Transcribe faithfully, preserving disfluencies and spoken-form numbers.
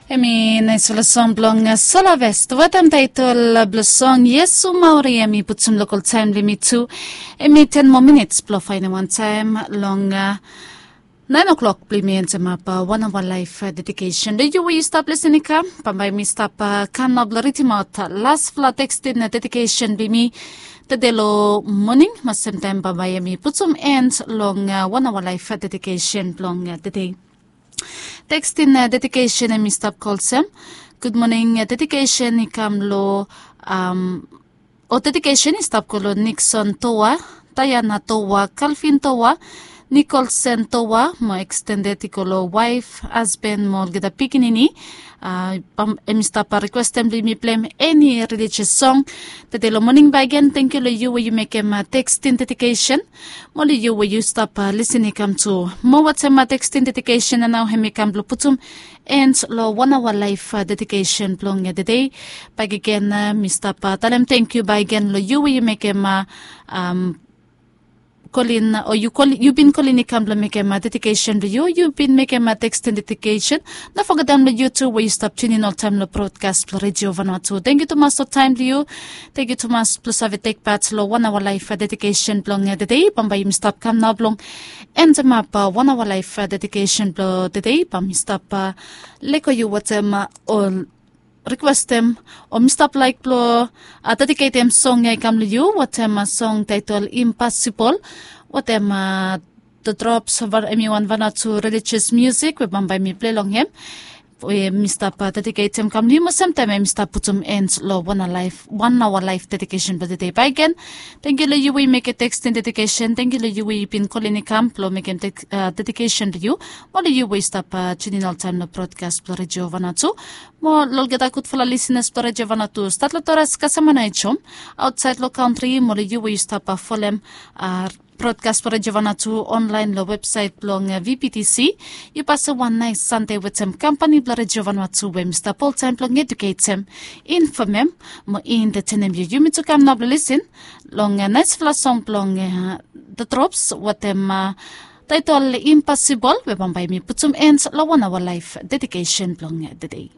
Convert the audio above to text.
Em i naispela song blong Solavest wetem taitol blong song Iesu Mauri. Em i putum lokal taim blong yumi tu. Em i ten moa minits blong fainiman taim long nain o'klok blong yumi entemap wan aoa laif dedikesen. Long yu we yu stap lisin i kam, bambae mi stap kam nao blong ridimaot laspela tekstin dedikesen blong yumi tede long moning. Mo semtaim bambae mi putum en long wan aoa laif dedikesen blong tede. Tekstin dedikesen em i stap go olsem, gud moning dedikesen i kam long, o dedikesen i stap go long Nikson Toa, Daiana Toa, Kalvin Toa, Nikolsen Toa, mo ekstendet i go long waef, hasben mo olgeta pikinini. Em i stap rikwestem blong yumi pleim eni relijios song tede long moning. Bakegen, tangkiu long yu we yu mekem tekstin dedikesen. Mo long yu we yu stap lisin i kam tu. Mo wetem tekstin dedikesen nao em i kam blong putum en long wan aoa laif dedikesen blong tede. Bakegen mi stap talem tangkiu bakegen long yu we yu mekem kolin o yu bin kolin i kam blong mekem dedikesen blong yu, yu bin mekem tekstin dedikesen. No fogetem long yu tu we yu stap tunin oltaim long brodkas blong Redio Vanuatu. Tangkiu tumas long taim blong yu. Tangkiu tumas blong save tekpat long wan aoa laif dedikesen blong tede. Bambae yumi stap kam nao blong entemap wan aoa laif dedikesen blong tede. Bae mi stap leko yu wetem ol rikwestem o mi stap laik blong dediketem song ya i kam long yu wetem song taitol Impossible wetem The Drops. Em i wan Vanuatu relijios musik we bambae mi pilei long hem. We mi stap dediketem kam long yu, mo semtaim em i stap putum en long wan aoa laif dedikesen blong tede. Bakegen, tangkiu long yu we yu mekem tekstin dedikesen. Tangkiu long yu we yu bin kolin i kam blong mekem dedikesen blong yu. Mo long yu we yu stap tunin oltaim long brodkas blong Redio Vanuatu. Mo long olgeta gudfala lisinas blong Redio Vanuatu stat long Torres kasem mo Naitom, aotsaed long kantri, mo long yu we yu stap folem brodkas blong Redio Vanuatu onlaen long websaet blong VBTC. Yu pasem wan nais Sande wetem kampani blong Redio Vanuatu we mi stap oltaim blong eduketem, infomem mo entetenem yu. Yumi tu kam nao blong lisin long naisfala song blong The Drops wetem taitol Impossible we bambae mi putum en long wan aoa laif dedikesen blong tede.